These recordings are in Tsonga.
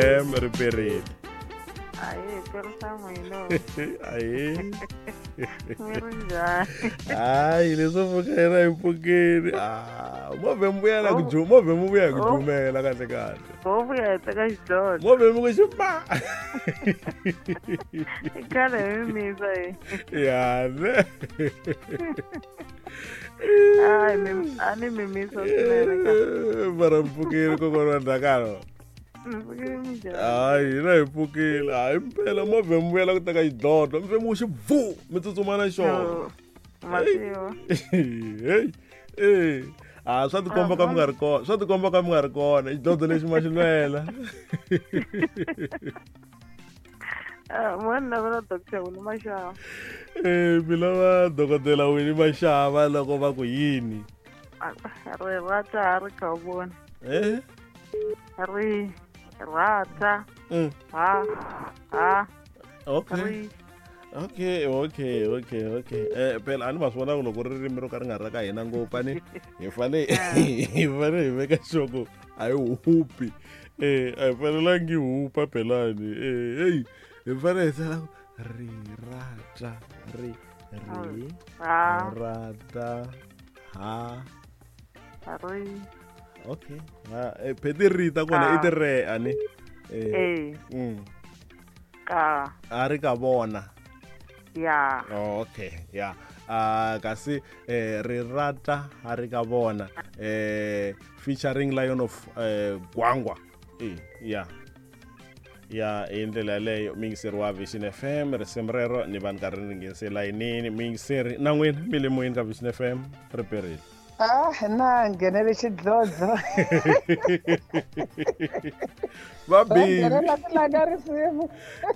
FM riperile. Ahee, tirhisa n'wina. Ahee. Mi ri njhani? Hayi, leswo pfuka yena hi pfukile. Ah, movhe mi vuya na ku ju, movhe mi vuya hi ku jumela kahle kahle. Ho vuya hi teka xidlodlo. Movhe mi ku xipa. I khale hi mi misa hi. Ya ne. Hayi, mi a ni mi misa swinene ka. Mara mi pfukile kokwana wa Ndhakalo. Hayi, hina hi pfukile. Hayi mpela movhe mi vuyela ku teka xidlodlo, mi fe mi ku xi bvu, mi tsutsuma na xona. Mativa. Hey, eh. Ah, swa tikomba ka mi nga ri kona, swa tikomba ka mi nga ri kona. Xidlodlo lexi ma xi lwela. Mo ni lavela Doctor Winnie Mashava. Eh, mi lava dokodela Winnie Mashava loko va ku yini? Ri rata ha ri kha vona. Eh? Ri rata ha ha. Okay. Ri. Okay, okay, okay, okay. Eh, phela a ni ma swi vona ku loko ririmi ro ka ri nga ri ra ka hina ngopfu a ni hi fane hi fane hi veka xoko a hi hupi. Eh, a hi fanelangi hi hupa phelani. Eh, hey, hi fane hi tsala ri rata ri ri Ha. rata ha. Ri. Okay. Ha, eh, pheti ri ta kona i ti re a ni. Eh. Eh. Ka. A ri ka vona. Ya. Oh, okay, ya. Ah, kasi eh ri rata a ri ka vona. Eh featuring Lion of Gwangwa. Eh, ya. Ya, hi ndlela yaleyo muyingiseri wa Vision FM risimu rero ni va ni karhi ni nghenise layinini muyingiseri na n'wina mi le moyeni ka Vision FM ri perile. Ah, na nghenele xidlodlo. Va busy. Nghenela ku langa risimu.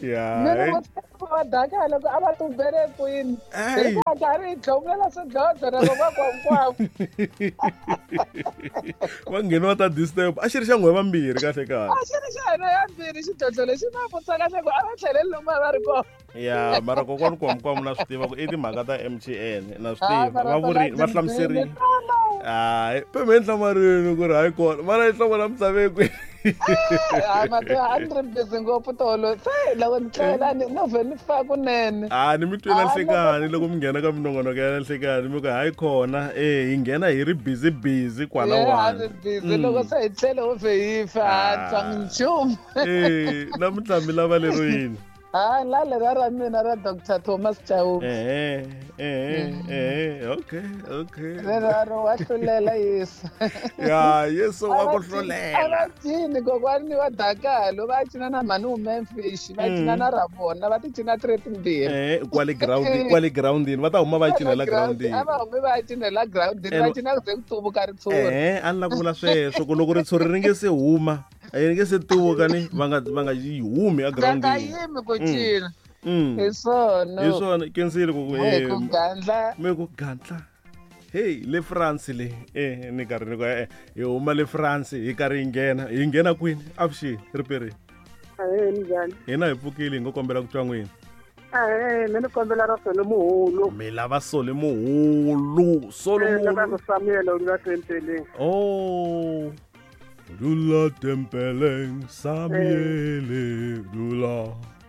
Ya. Mina vo va daka loko a va tumbele kwini. Ey. Hi va karhi hi dlomela swidlodlo na va va hinkwavo. Va ngheni va ta disturb. A xi ri xa n'we vambirhi kahle kahle. A xi ri xa hina ya mbirhi xidlodlo lexi na vutisa kahle ku a va tlheleli lomu a va ri kona. Ya, mara kokwani Kwamkwamu na swi tiva ku i timhaka ta MTN na swi Ah, tiva. mara Va vuri tona va hlamuserile. tindzimi tala. Hayi, peme enhlamarini ku ri hayi kona. Mara yi hlamula misaveni kwihi. Hayi, mativa a ni ri busy ngopfu tolo. Se loko ni tlela ni no vhe ni fa kunene. Ah, ni mi twela Ah, nhlekani loko mi nghena ka minongonoko ya nhlekani mi ku hayi khona eh hi nghena hi ri busy busy kwala Yeah, a wani. ni busy loko se hi tlele ho vhe hi fa a ni twangi nchumu. Eh, namuntlha mi lava lero yini? Ah, la lera ra mina ra Dr. Thomas Chauke. Eh, eh, eh, okay, okay. Rero wa hlulela Yesu. Ya, Yesu wa ku A hlulela. va cini kokwani wa Dakalo, va cina na mhani Memphis, va cina na Rabona, va ti cina ti ri timbirhi. Eh, kwale ground, kwale groundini va ta huma va cinela groundini. A va humi va cinela groundini, va And- cina ku ze ku tuvuka ritshuri. Eh, a ni la ku vula sweswo ku loko ritshuri ri nge se huma, ri nge se tuvuka ni va nga va nga yi humi a Va nga groundini. yimi ku cina. Mm. Hi swona. Hi swona kensile ku ku Hi ku gandla. mi ku gandla. Hey, le France le. Eh, ni karhi ni ku eh hi huma le France hi karhi hi nghena, hi nghena kwini? Avuxeni, riperile. Ahee, minjhani? Hina hi pfukile hi ngo kombela ku twa n'wina. Ahee, mina ni kombela ra Sole Muhulu. Mi lava Sole Muhulu, Sole Eh, lava Muhulu. ku Samuel u la tempeleng. Oh. Dula tempeleng Samuele dula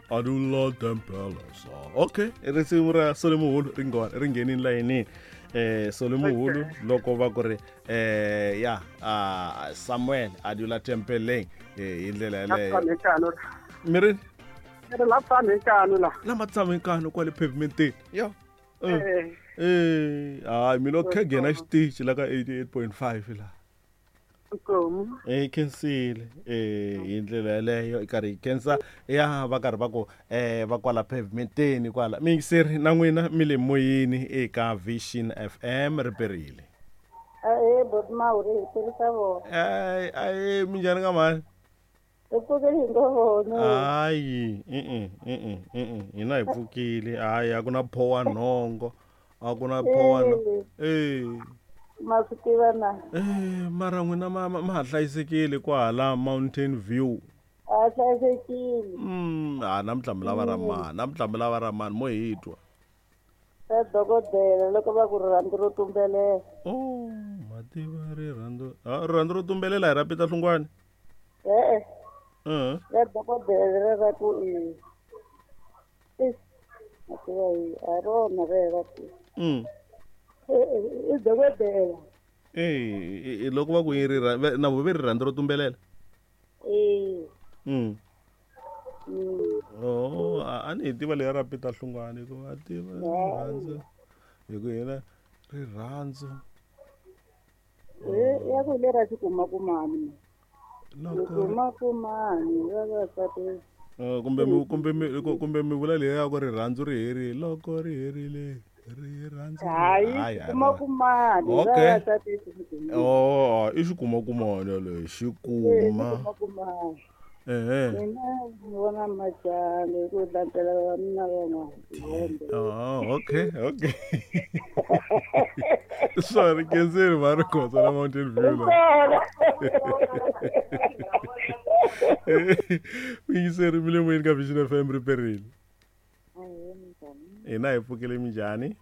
adula tempeleng sa. Okay, risimu ra Sole Muhulu ri ngona ri nghenini layinini. Eh Sole Muhulu loko va ku ri eh ya ah Samuel adula tempeleng eh hi ndlela La yaleyo. tshame nkano. Mi ri Ri la tshame nkano la. lama tshame nkano kwale pavementeni. Yo. Eh. Eh, hayi mina khegena xitichi la ka 88.5 la. Nkomu. Eh khensile eh hi ndlela yaleyo i karhi hi khensa ya va karhi va ku eh va kwala pavementeni kwala miyingiseri na n'wina mi le moyeni eka Vision FM riperile. Ahee, boti Mawuri hi tirhisa vona. Ai ai minjhani ka mhani? Hi pfukile hi ngo vona. Hayi, hina hi pfukile hayi a ku na phowa nhongo a ku na phowa eh Ma swi tiva na? Eh, mara n'wina ma ma ha hlayisekile kwahala Mountain View. A hlayisekile. Ah, namuntlha mi lava ra mani, namuntlha mi lava ra mani mo hi twa. Ra dokodela loko va ku rirhandzu ro tumbelela. Oh, mativa rirhandzu. Ah, rirhandzu ro tumbelela hi ra Peter Hlungwani. E-e. Ra dokodela leri ra ku i a tiva hi a rona rera ku i dokodela. Eh, loko va ku yi ri na vo ve rirhandzu ro tumbelela. Oh, a ni hi tiva leya ra Peter Hlungwani hikuva a tiva rirhandzu hi ku yena rirhandzu ya ku le ra xikumakumani xikumakumani vavasati. Kumbe mi vula leya ya ku rirhandzu ri herile loko ri herile rirhandzu. Hayi, xikumakumani vavasati. Oh, i xikumakumani yaleyo xikuma. Mina ni vona majalo hi ku landzela vavanuna van'wana. Oh, okay. Sorry, kenzeni va ri khotsa na Mountain View la. Yingiseri mi le moyeni ka Vision FM ri perile. Hina hi pfukile minjhani?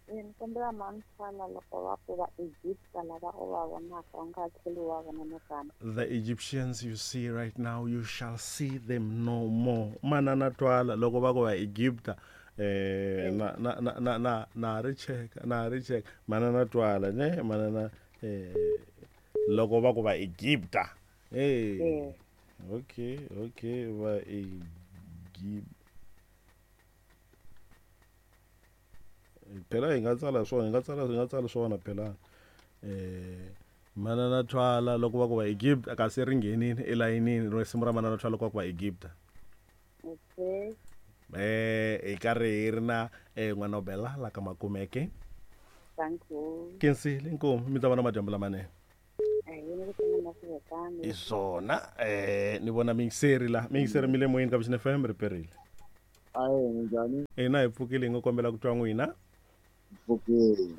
Ni kombela mantshwana loko va ku va Egypta lava u va vonaka u nga tlheli wa vona nakambe. The Egyptians you see right now, you shall see them no more. Manana twala loko va ku va Egypta na ri cheka na ri cheka manana twala ne manana loko va ku va Egypta. Hey. Okay, va Egypta. Phela hi nga tsala swona, hi nga tsala swona phela. Manana twala loko va ku va Egypt kasi ri nghenini elayinini risimu ra manana twala loko va ku va Egypt. Okay. Hi karhi hi ri na n'wana Bella la ka Makumeke. Thank you. Kensile inkomu mi ta va na madyambu lamanene. I swona ni vona miyingiseri la miyingiseri mi le moyeni ka Vision FM ri perile. Ayi minjhani? Hina hi pfukile hi ngo kombela ku twa n'wina. Pfukile.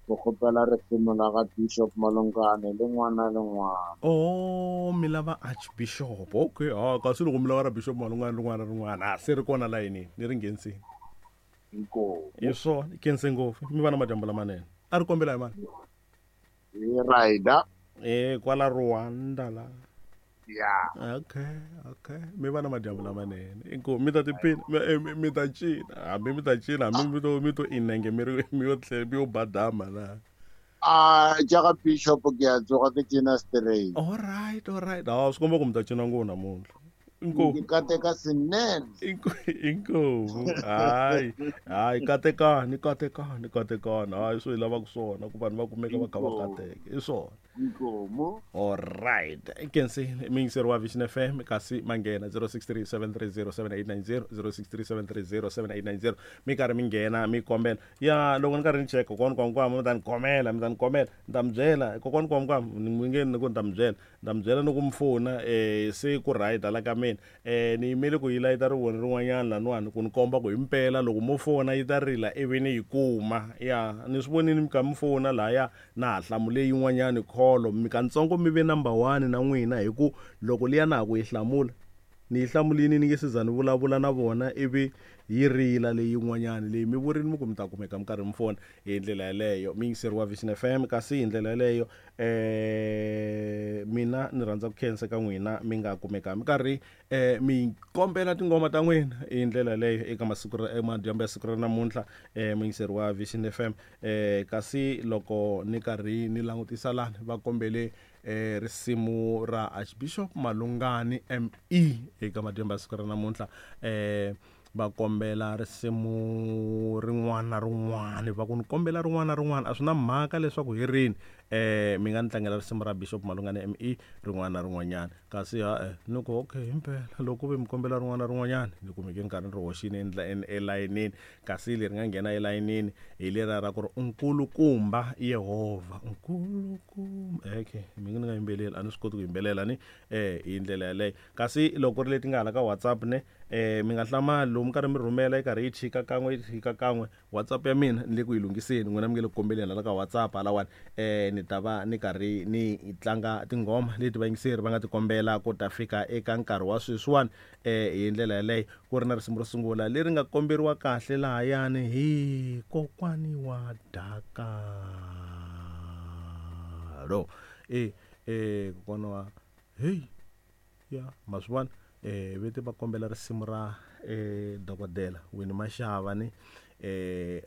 Ku kombela risimu la ka Bishop Malungane lin'wana na lin'wana. Oh, mi lava Archbishop. Okay, kasi loko mi lava ra Bishop Malungane rin'wana na rin'wana, se ri kona layinini, ni ri nghenisini. Inkomu. Hi swona, khense ngopfu. Mi va na madyambu lamanene. A ri kombela hi mani? Hi Raida. Kwala Rwanda la. Yeah. Okay. Mi va na madyambu lamanene. Inkomu mi ta tiphina, mi ta cina. Hambi mi ta cina, hambi mi to inenge mi ri mi yo tlhela mi yo badama na. Jaga Bishop ke ya tsoga ke cina straight. All right. Swi komba ku mi ta cina ngopfu namuntlha. Inkomu. Ke kateka swinene. Inkomu. Hayi, katekani. Hayi, swo hi lavaka swona ku vanhu va kumeka va kha va kateka. I swona. Inkomu. All right. Kensi miyingiseri wa Vision FM kasi manghena 0637307890 0637307890 mi karhi mi nghena mi kombela. Ya loko ni karhi ni cheka kokwana Kwamkwam mi ta ni komela, mi ta ni byela kokwana Kwamkwam ni nge ni ku ni ta mi byela ni ku mi fona se ku right la ka mina. Ni yimele ku yi layita rivoni rin'wanyana laniwani ku ni komba ku himpela loko mo fona yi ta rila ivi ni yi kuma. Ya ni swi vonile mi kha mi fona lahaya na ha hlamule yin'wanyani kholo mi kantsongo mi ve number 1 na n'wina hi ku loko liya na ha ku yi hlamula ni yi hlamulini ni nge se za ni vulavula na vona ivi yi rila leyi yin'wanyani leyi mi vurini mi ku mi ta kumeka mi karhi mi fona hi ndlela yaleyo. Miyingiseri wa Vision FM kasi hi ndlela yaleyo mina ni rhandza ku khensa ka n'wina mi nga kumeka mi karhi mi kombela tingoma ta n'wina hi ndlela yaleyo eka masiku ra madyambu ya siku ra namuntlha muyingiseri wa Vision FM. Kasi loko ni karhi ni langutisa lani va kombele risimu ra Archbishop Malungani ME eka madyambu ya siku ra namuntlha. Va kombela risimu rin'wana na rin'wana, va ku ni kombela rin'wana na rin'wana a swi na mhaka leswaku hi rini. Mi nga ni tlangela risimu ra Bishop Malungane ME rin'wana na rin'wanyana. Kasi ni ku okay himpela loko ve mi kombela rin'wana na rin'wanyana ni kumeke nkarhi ni ri hoxini elayinini. Kasi leri nga nghena elayinini hi lera ra ku ri Nkulukumba Yehovha. Nkulukumba. Okay, mi nge ni nga yimbeleli, a ni swi koti ku yimbelela ni hi ndlela yaleyo. Kasi loko ri leti nga hala ka WhatsApp ne mi nga hlamali lomu mi karhi mi rhumela yi karhi yi chika kan'we yi chika kan'we. WhatsApp ya mina ni le ku yi lunghiseni, n'wina mi nge le ku kombeleni hala ka WhatsApp halawani. Ni ta va ni karhi ni tlanga tinghoma leti vayingiseri va nga ti kombela ku ta fika eka nkarhi wa sweswiwani. Hi ndlela yaleyo ku ri na risimu ro sungula leri nga komberiwa kahle lahayani hi kokwani wa Dakalo. Kokwana wa heyi ya ma swi vona vete va kombela risimu ra dokodela Winnie Mashava ni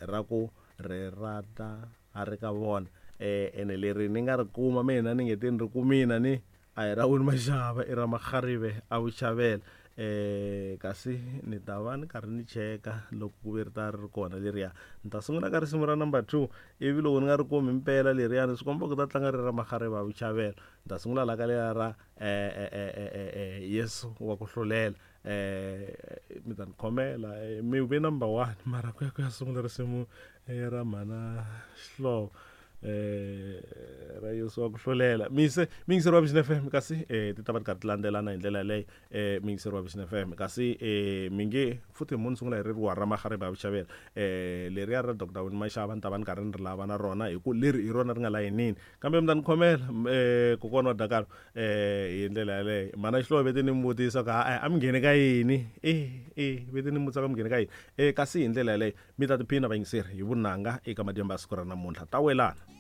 ra ku ri rata a ri ka vona ene leri ni nga ri kuma mina ni nge te ni ri kumina ni a hi ra Winnie Mashava i ra Makharive a Vuchavela kasi ni ta va ni karhi ni cheka loko ku ve ri ta ri ri kona leriya ni ta sungula ka risimu ra number 2 ivi loko ni nga ri kumi mpela leriyani swi komba ku ta tlanga ri ra Makharive a Vuchavela ni ta sungula la ka leriya ra Yesu wa ku hlulela mi ta ni khomela mi ve number 1 mara ku ya ku ya sungula risimu ra mhana Xihlovo ra Yesu wa ku hlulela mise miyingiseri wa Vision FM kasi ti ta va ti karhi ti landzelana hi ndlela yaleyo miyingiseri wa Vision FM kasi mi nge futhi mo ni sungula hi ririwa ra Makharive a Vuchavela leriya ra Dr Winnie Mashava ni ta va ni karhi ni ri lava na rona hi ku leri hi rona ri nga layinini kambe mi ta ni khomela kokwana wa Dakalo hi ndlela yaleyo mhana Xihlovo vete ni mi vutisa ku a a mi nghene ka yini vete ni mi vutisa ku a mi nghene ka yini kasi hi ndlela yaleyo mi ta tiphina vayingiseri hi vunanga eka madyambu ya siku ra namuntlha ta welana.